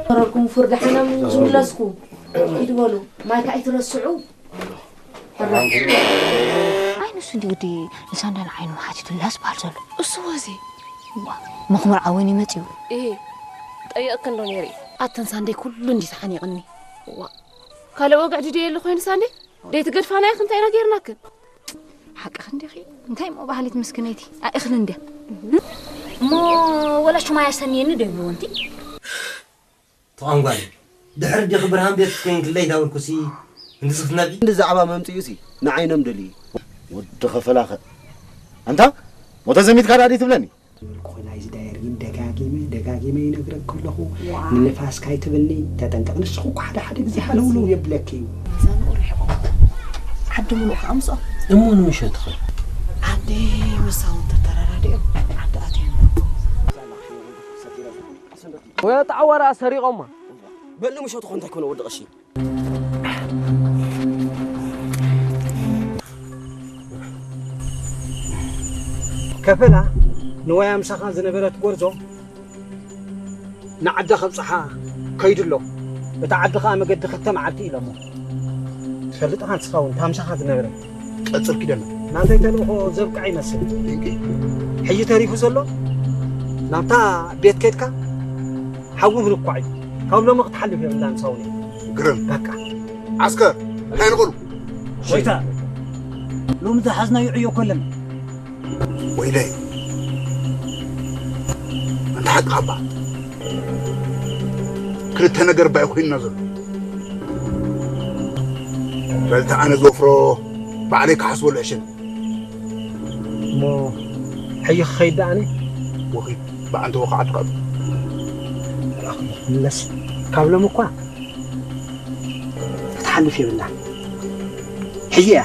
ተረርኩም ፍርዲ ሓናም ዝምለስኩ። ኪዱ በሉ። ማይ ከኣ ኣይትረስዑ። ኣይ ንሱ እንዲ ግዲ ንሳንዳን ዓይኑ ሓቲቱ ላስ በሃል ዘሎ። እሱ ወዚ። ዋ፣ መኽሙር ዓወን ይመጽዩ። እሄ፣ ጠየቕክ እንዶ ነይረ። ኣተን ሳንደይ ኩሉ እንዲ ተሓኒቕኒ። ዋ፣ ካልእ ወግዕ ድደ የለ ኮይኑ ሳንደይ? ደይ ትገድፋና ኢኽ እንታይ ኢና ገይርናክን? ሓቅኽ እንዲኺ። እንታይ እሞ ባህሊት ምስክነይቲ? ኣእኽሊ እንድያ። እሞ ወላ ሽማይ ኣስተንየኒ ዶ ይብልዎ እንቲ? ተቋም ጓል። ድሕሪ ዲኺ ብርሃን ቤት ኮይንክለይ እንዳበልኩሲ እንድዚ ክትነቢ? እንዲ ዛዕባ መምጽኡሲ ንዓይኖም ደልዩ። ወዲ ኸፈላኸ። ኣንታ ሞተ ዘሚትካ ዳዲ ትብለኒ? ትብል ኮይና እዚ ዳየር ግን ደጋጊመ፣ ደጋጊመ ይነግረክ ኣለኹ። ዋ። ንንፋስ ካይትብልኒ፣ ተጠንቀቕ። ንስኹ እኮ ሓደ ሓደ ግዜ ሃለውለው የብለኪ እዩ። እዛ ንኡ ርሒቑ። ዓዲ ምሉእ ከኣ ምስኦም። እሞ ንምሸትኸ? ዓዲ ምሳውን ተተረዳዲኦም፣ ዓዲ ኣትዮም። ወይ ኣጣዕዋራ ሰሪቖማ። በል ንምሸትኹ እንታይ ኮነ ወዲ ቀሺ? ከፈላ ንዋያ ምሳኻ ዝነበረት ጎርዞ ንዓዳ ከብጽሓ ከይዱ ኣሎ። እታ ዓዲ ኸኣ መገዲ ክልተ መዓልቲ ኢሎሞ። ትፈልጥ ኻ ንስኻ እውን እታ ምሳኻ ዝነበረት። ቀጽል ኪደና። ናተይ ተልእኾ ዘብቅዐ ይመስል። ድንቂ። ሕጂ ተሪፉ ዘሎ ናብታ ቤት ከድካ ሓዊ ምልኳዕ እዩ። ካብ ሎሚ ክትሓልፍ የብላን ሳውኒ። ግርም። በቃ። ዓስከር፣ እንታይ ንቕሉ? ጎይታ፣ ሎሚ ዝሓዝናዮ ዕዮ እኮ ኣለና። ወይለይ። ኣንታ ሓቅኻ እባ። ክልተ ነገር ባይ ኮይንና ዘሎ። በልታ ኣነ ዝወፍሮ ባዕለይ ክሓስበሉ ዕሽን። እሞ ሕጂ ክኸይድ ደኣ ኣነ? ወኺድ ብኣንተ ወኻዓቱ ካብ ምለስ። ካብ ሎም እኳ ክትሓልፍ የብላን። ሕጂ እያ